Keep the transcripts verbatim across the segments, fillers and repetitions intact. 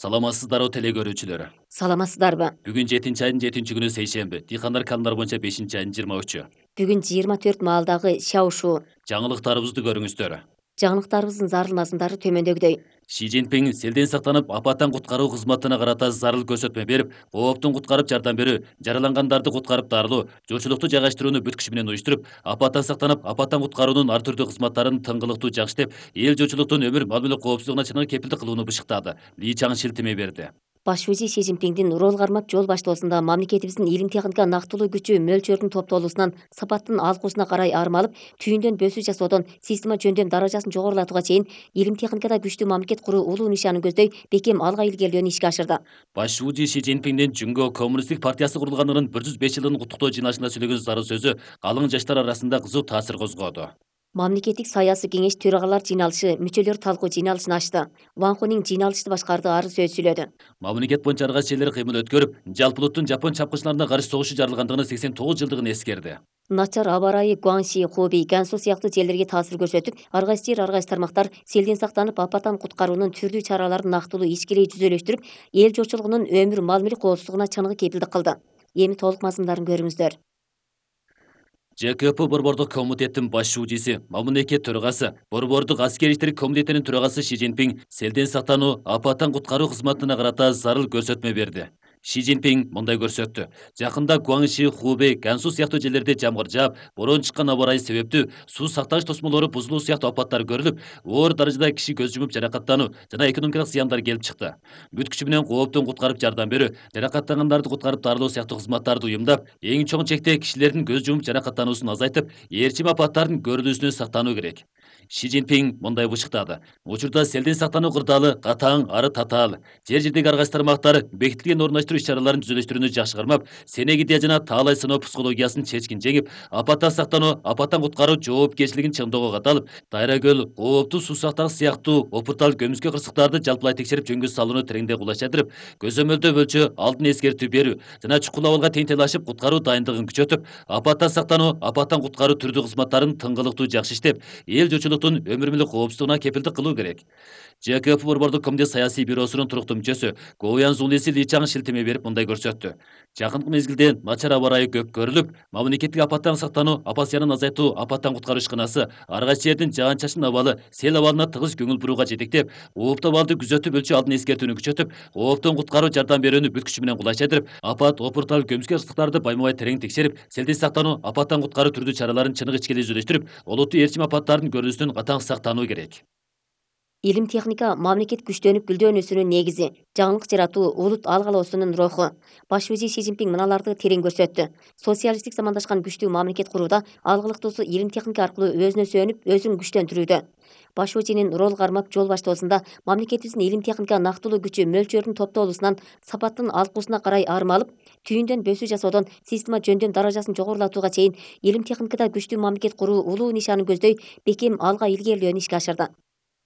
Саламатсыздарбы теле көрүүчүлөр. Саламатсыздарбы? Бүгүн жетинчи айдын жетинчи күнү сейшемби. Дыйкандар календар боюнча бешинчи айдын жыйырма үчү. Бүгүн жыйырма төрт маалдагы чау шу. Жаңылыктарыбызды көрүңүздөр. Жаңылыктарыбыздын зарыл мазмундары төмөндөгүдөй. Ши Цзиньпин селден сактанып, апаттан куткаруу кызматына карата зарыл көрсөтмө берип, кооптун куткарып жардам берүү, жаралангандарды куткарып дарылоо, жолчулукту жайгаштырууну бүт күчү менен уюштуруп, апаттан сактанып, апаттан куткаруунун ар түрдүү кызматтарын тыңгылыктуу жакшытып, эл жолчулуктун өмүр мал-мүлк коопсуздугуна чыныгы кепилдик кылууну бышыктады. Ли Чаң шилтеме берди. Баш ши Цзиньпиндин рол кармап жол баштоосунда мамлекетибиздин илим техника нактылуу күчү мөлчөрдүн топтолуусунан сапаттын алкуусуна карай армалып, түйүндөн бөсүү жасоодон система жөндөм даражасын жогорулатууга чейин илим техникада күчтүү мамлекет куруу улуу нишанын көздөй бекем алга илгерилөөнү ишке ашырды. Баш Ши Цзиньпиндин Жүнгө коммунисттик партиясы курулганынын бир жүз беш жылын куттуктоо жыйналышында сөйлөгөн зарыл сөзү калың жаштар арасында кызуу таасир козгоду. Мамлекеттик саясий кеңеш төрагалар жыйналышы мүчөлөр талкуу жыйналышын ачты. Ван Хунин жыйналышты башкарды, ары сөз сүйлөдү. Мамлекет боюнча ар кайсы жерлер кыймыл өткөрүп, жалпы улуттун жапон чапкынчыларына каршы согушу жарылгандыгынын сексен тогуз жылдыгын эскерди. Начар аба ырайы Гуанши, Хубей, Гансу сыяктуу жерлерге таасир көрсөтүп, ар кайсы жер, ар кайсы тармактар селден сактанып, апаттан куткаруунун түрдүү чараларын нактылуу ишкерей жүзөлөштүрүп, эл журтчулугунун өмүр мал-мүлк коопсуздугуна чыныгы кепилдик кылды. Эми толук мазмундарын көрүңүздөр. Ж К П Борбордук комитеттин баш шуудиси, мамлекет төрагасы, Борбордук аскер иштер комитетинин төрагасы Ши Цзиньпин селден сактануу, апаттан куткаруу кызматына карата зарыл көрсөтмө берди. Ши Цзиньпин мындай көрсөттү. Жакында Гуанши, Хубей, Гансу сыяктуу жерлерде жамгыр жаап, бороон чыккан аба ырайы себептүү суу сактагыч тосмолору бузулуу сыяктуу апаттар көрүлүп, оор даражада киши көз жумуп жаракаттануу жана экономикалык зыяндар келип чыкты. Бүт күчү менен кооптун куткарып жардам берүү, жаракаттангандарды куткарып дарылоо сыяктуу кызматтарды уюмдап, эң чоң чекте кишилердин көз жумуп жаракаттануусун азайтып, ээрчим апаттардын көрүлүүсүнөн сактануу керек. Ши Цзиньпин мындай бышыктады. Учурда селден сактануу кырдаалы катаң, ары татаал. Жер жердеги ар кайсы тармактар бекитилген орундаштыруу иш-чараларын жүзөлөштүрүүнү жакшы кармап, Сенегидия жана таалай сыноо психологиясын чечкин жеңип, апаттан сактануу, апаттан куткаруу жоопкерчилигин чыңдоого катталып, Дайра көл, кооптуу суу сактагыч сыяктуу опуртал көмүскө кырсыктарды жалпылай текшерип жөнгө салууну тереңдей кулачтырып, көзөмөлдөө бөлчү алдын эскертүү берүү жана чукул абалга теңтелашып куткаруу дайындыгын күчөтүп, апаттан сактануу, апаттан куткаруу түрдүү кызматтарын тыңгылыктуу жакшы иштеп, эл журтчулуктун өмүр мүлк коопсуздугуна кепилдик кылуу керек. Ж К П Борбордук комитет саясий бюросунун туруктуу мүчөсү Гоуян Зулиси Ли Чаң шилтеме берип мындай көрсөттү. Жакынкы мезгилде начар аба ырайы көп көрүлүп, мамлекеттик апаттан сактануу, апат зыянын азайтуу, апаттан куткаруу ишканасы ар кайсы жердин жаан чачын абалы, сел абалына тыгыз көңүл бурууга жетектеп, ооптуу абалды күзөтүп өлчү алдын эскертүүнү күчөтүп, кооптон куткаруу жардам берүүнү бүт күчү менен кулайчтырып, апат, опуртал, көмүскө кырсыктарды байма-бай терең текшерип, селден сактануу, апаттан куткаруу түрдүү чараларын чыныгы ичкерей жүзөлөштүрүп, олуттуу ээрчим апаттардын көрүлүүсүнөн катаң сактануу керек. Илим техника мамлекет күчтөнүп гүлдөнүүсүнүн негизи, жаңылык жаратуу улут алгалоосунун руху. Баш ши Цзиньпин мыналарды терең көрсөттү. Социалисттик замандашкан күчтүү мамлекет курууда алгылыктуусу илим техника аркылуу өзүнө сүйөнүп, өзүн күчтөндүрүүдө. Баш шинин рол кармап жол баштоосунда мамлекетибиздин илим техника нактылуу күчү мөлчөрдүн топтолуусунан сапаттын алкуусуна карай армалып, түйүндөн бөсүү жасоодон система жөндөм даражасын жогорулатууга чейин илим техникада күчтүү мамлекет куруу улуу нишанын көздөй бекем алга илгерилөөнү ишке ашырды.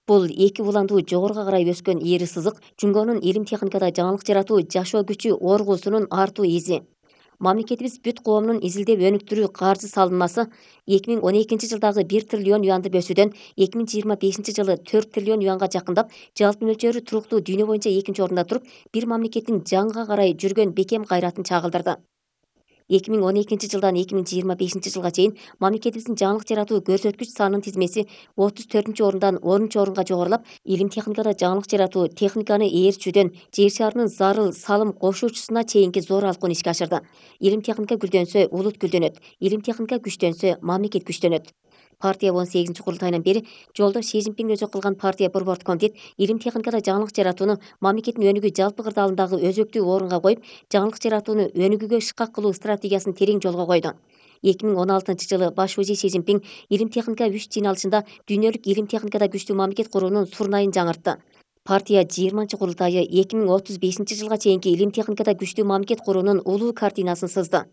Бул эки уландуу жогоруга карай өскөн ийри сызык Жүнгөнүн илим техникада жаңылык жаратуу жашоо күчү оргуусунун артуу изи. Мамлекетибиз бүт коомдун изилдеп өнүктүрүү каржы салынмасы эки миң он экинчи жылдагы бир триллион юанды бөсүүдөн эки миң жыйырма бешинчи жылы төрт триллион юанга жакындап, жалпы мөлчөрү туруктуу дүйнө боюнча экинчи орунда туруп, бир мамлекеттин жаңга карай жүргөн бекем кайратын чагылдырды. эки миң он экинчи жылдан эки миң жыйырма бешинчи жылга чейин мамлекетибиздин жаңылык жаратуу көрсөткүч санынын тизмеси отуз төртүнчү орундан онунчу орунга жогорулап, илим техникада жаңылык жаратуу техниканы ээрчүүдөн жер шарынын зарыл салым кошуучусуна чейинки зор алкуун ишке ашырды. Илим техника гүлдөнсө, улут гүлдөнөт. Илим техника күчтөнсө, мамлекет күчтөнөт. Партия он сегизинчи курултайынан бери жолдош Ши Цзиньпин өзү кылган партия борбордук комитет илим техникада жаңылык жаратууну мамлекеттин өнүгүү жалпы кырдаалындагы өзөктүү орунга коюп, жаңылык жаратууну өнүгүүгө шыкак кылуу стратегиясын терең жолго койду. эки миң он алтынчы жылы баш ши Цзиньпин илим техника үч жыйналышында дүйнөлүк илим техникада күчтүү мамлекет куруунун сурнайын жаңыртты. Партия жыйырманчы курултайы эки миң отуз бешинчи жылга чейинки илим техникада күчтүү мамлекет куруунун улуу картинасын сызды.